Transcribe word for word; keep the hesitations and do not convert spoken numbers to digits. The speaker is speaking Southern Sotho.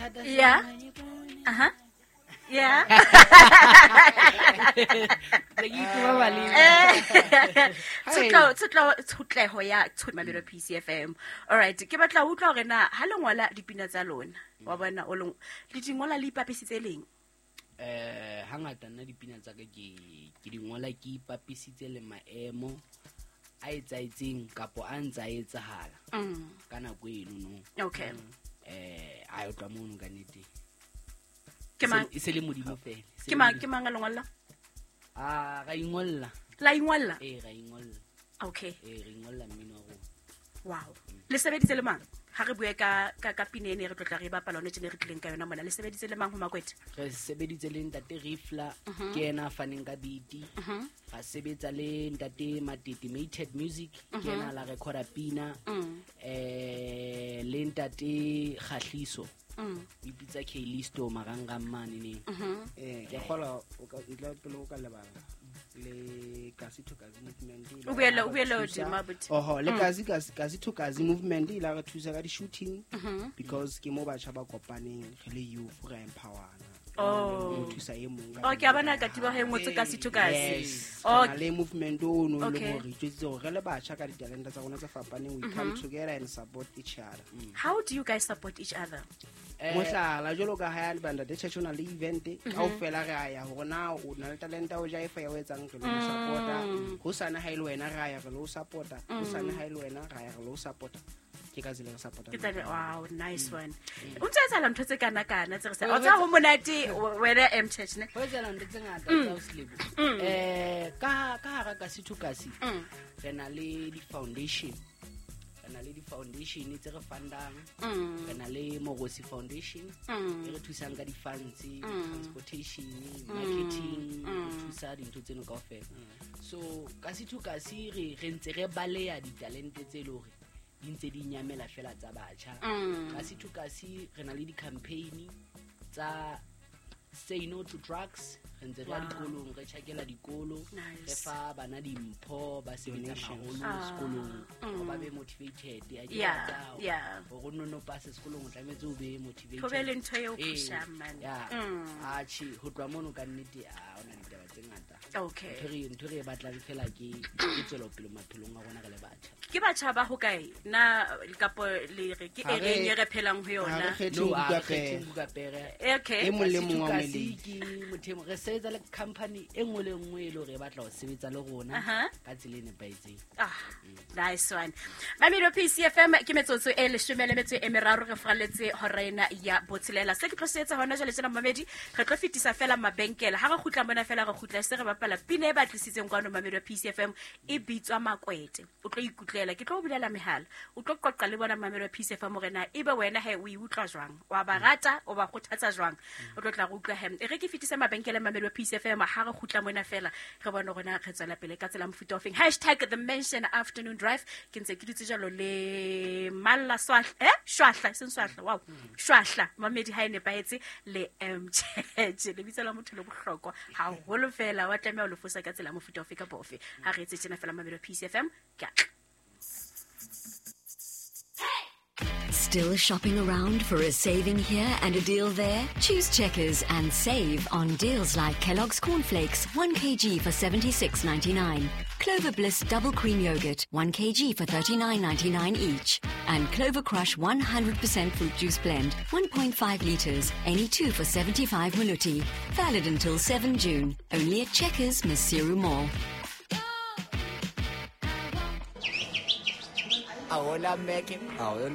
thata Yeah. Aha. Yeah. Le ke ituma maleme. Tshotlo tshotlo tshotleho ya Tshotmabelo P C F M. All right, ke batla ho utlwa hore na ha le ngola dipina tsa lona, wa bona o le le di ngola le ipapisitse leng? Eh, hangata nna dipina tsa ka ke ke di ngola ke ipapisitse le maemo a etsaetseng kapo a ntsa etsahala. Mm. Ka nako eno no. Okay. Eh, a yo tla mono ka nnete. Ke mang? E se le modimo fela. Ke mang, ke mang a le ngolla? Ah, ra ingolla. La ingolla? Eh, ra ingolla. Okay. Eh, re ingolla mmino wa rona. Wow. Le sebeditse le mang? Ha re bue ka, ka, ka pina ene re tlo tla re bapala yona tjena re tlileng ka yona mona. Le sebeditse le mang ho Makwete? Re sebeditse le ntate Rifla, Mhm. ke yena a faneng ka beat. Mhm. Ra sebetsa le ntate Matete Mated Music, ke Mhm. yena la recorda pina. Mm. Eh, le ntate Kgahliso. Mm. O ipitsa K-Listo marangrang mane neng. Mhm. Eh, ke kgola o ka ntle pele o ka lebala le Kasi to Kasi movement e O boele, la o re boele thusa. hodimo, abuti. Oho, le Mm. Kasi, Kasi, Kasi to Kasi movement e la re thusa ka di-shooting Mhm. because ke mo batjha ba kopaneng re le youth re empowerana. Oh. Mo thusa e mong ka Oh, ke a bona tsela ka tiba he ngotse Kasi to Kasi. Yes. Oh. Re na le movement o no le Okay. hore re itjwetsitse hore re le batjha ka ditalente tsa rona tse fapaneng, we come Mhm. together and support each other. Mm. How do you guys support each other? Eh, Mohlala, jwalo ka ha ya le banda, the church o na le event, Mhm. kaofela re a ya hore na o na le talente ya ho jaifa ya ho etsang, re lo Mm. support-a. Hosane ha e le wena re a ya re lo support-a. Mm. Hosane ha e le wena re a ya re lo support-a. Ke ka tsela e re support-ang Ke tsela, ka wow, nice Mm. one. O ntse etsahala ntho tse kana kana tse re sa. Ho O tseba ho monate wena M Church ne? Ho etsahala ntho tse ngata Mm. tsa ho Selebo. Mm. Eh, ka, ka hara Kasi to Kasi, Mm. re na le di-foundation. Re na le di-foundation tse re fundang. Mm. Re na le Morosi Foundation, Mm. e re thusang ka di-funds, Mm. transportation, Mm. marketing, Mm. re thusa dintho tseno kaofela. So Kasi to Kasi re, re ntse re baleya ditalente tse leng hore di ntse di nyamela fela tsa batjha. Mm. Kasi to Kasi re na le di-campaign tsa say no to drugs. Re ntse re ya Wow. dikolong, re tjhakela dikolo, Nice. re fa bana dimpho ba sebetsang Donations. haholo Ah. sekolong, Mm. hore ba be motivated. A ke Yeah, rata hore yeah. hore o nno pase sekolong, o tlametse o be motivated. Ho be le ntho eo Eh, pushang, man. yeah. Mm. Atjhe, ho tloha mono ka nnete, ah, hona ditaba tse ngata. Okay. Ntho re, ntho re e batlang fela ke, ke tswelopele maphelong a rona re le batjha. Ke batjha ba hokae? Na kapo le re ke Ha e re reng e re phelang ho ha re yona? kgethe No, ho ha buka re kgethe pere. buka pere. Okay. E mong le mong wa Kasi moeletsi. ke motho e mong. Re sebetsa le company e nngwe le nngwe e le hore e batla ho sebetsa le rona Aha. ka tsela e nepahetseng. Ah, nice one. Mamelodi P C F M ke metsotso e leshome le metso e meraro re fraletse hora ena ya botshelela. Se ke tlo se etsa hona jwale tjena Mamedi, re tlo fetisa fela mabenkele. Ha re kgutla mona fela re kgutla se re bapala pina e batlisitseng kwano Mamelodi P C F M e bitswa Makwete. O tlo ikutlwela, ke tlo o bulela mehala. O tlo qoqa le bona Mamelodi P C F M hore na ebe wena he o e utlwa jwang? Wa ba rata, o ba kgothatsa jwang? O tlo tla re utlwa he. E re ke fetise mabenkele Mamelodi P C F M ha re kgutla mona fela re bone hore na re tswela pele ka tsela mofuta ofeng. Hashtag the Mention Afternoon Drive. Ke ntse ke dutse jwalo le Malla Swahla, eh? Shwahla, e seng Swahla, wow. Shwahla, Mamedi ha e nepahetse le M Church. Lebitso la motho le bohlokwa haholo fela, wa tlameha ho le fosa ka tsela mofuta ofe kapa ofe. Ha re etse tjena fela Mamelodi P C F M, ke a tla. Still shopping around for a saving here and a deal there? Choose Checkers and save on deals like Kellogg's Cornflakes, one kilogram for seventy-six ninety-nine, Clover Bliss Double Cream Yogurt, one kilogram for thirty-nine ninety-nine each, and Clover Crush one hundred percent Fruit Juice Blend, one point five litres, any two for seventy-five Maluti. Valid until seven June, only at Checkers, Maseru Mall. Ahola, Meke.